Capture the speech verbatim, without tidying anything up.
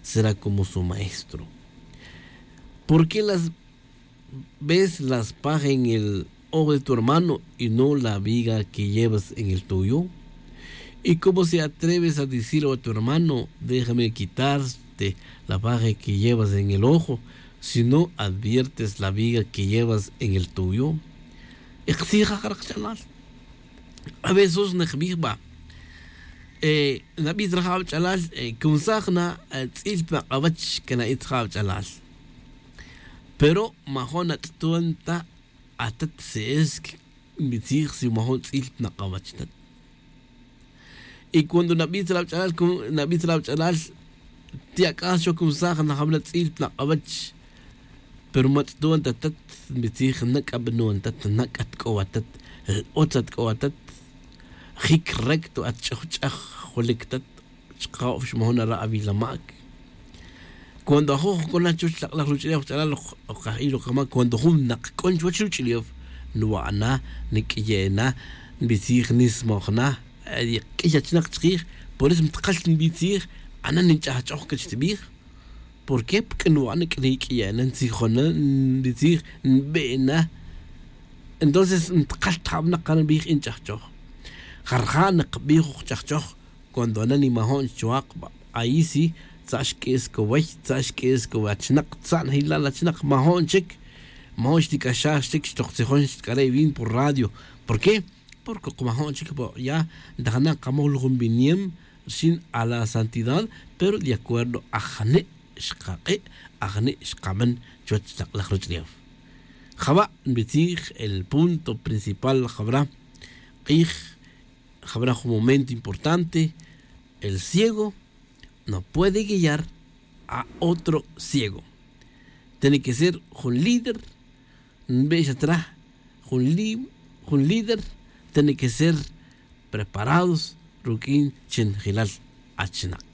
será como su maestro. ¿Por qué las ves la espada en el ojo de tu hermano y no la viga que llevas en el tuyo? ¿Y cómo se atreves a decir a tu hermano: "Déjame quitarte la paja que llevas en el ojo", si no adviertes la viga que llevas en el tuyo? Iqtzij ja rajch'alal. A veces najbij ba, eh, nabij raja' wach'alal, eh, kunsaj na, eh, tz'il pa nak'awach que na'itz ja wach'alal. Pero majo' natz'ton ta atat, si es que nbitzij si majo' tz'il pa nak'awach tat. Y cuando nabij tz'il awach'alal, nabij tz'il awach'alal, ti' ak'aj xoj kunsaj najawil atz'il pa nak'awach. Pero matz'ton ta tat, nbitzij nak'abnon tat, nak'at k'o atat, otz at k'o atat, jic recto at ch'oj ch'aj, julic tat, chka'ob xmajon ara' awil ama'c. Cuando ajoj joc'ona chuwech lak' laj ruch'ulef ch'alal, ok ajil ok jama' cuando jun nak c'on chuwech ruch'ulef, nwa'na, niq'uiye'na, nbitzij nismojna, q'uiy achinak chkij. Por eso mtkal nbitzij, ana' ninch'ajch'oj c'a chtibij. ¿Por qué? Porque nwa'na c'a niq'uiye'na, ntzijona, nbitzij, nbe'na. Entonces ntkal tjabnak c'a nbij inch'ajch'oj. Jarja' nkbij ok ch'ajch'oj. Cuando ana' nimajo'n chwakba, ahí sí, tza'x q'uiy scoway, tza'x q'uiy scoway achinak, tza'x najilal achinak, majo'n chic. Majo'n xtic'axaj chic xtoj tzijon xtc'are' vin por radio. ¿Por qué? Porque majo'n chic pa ya ntajana' kamoj lujun biniem rxin a la santidad, pero de acuerdo ajane' xkak'e', ajane' xkaben chuwech lak' laj ruch'ulef. Jaba' nbitzij el punto principal jabara' q'ij, jabara' jun momento importante. El ciego no puede guiar a otro ciego. Tiene que ser jun líder, nbe'xa tra, jun líder tiene que ser preparados ruq'uin chinjilal achinak.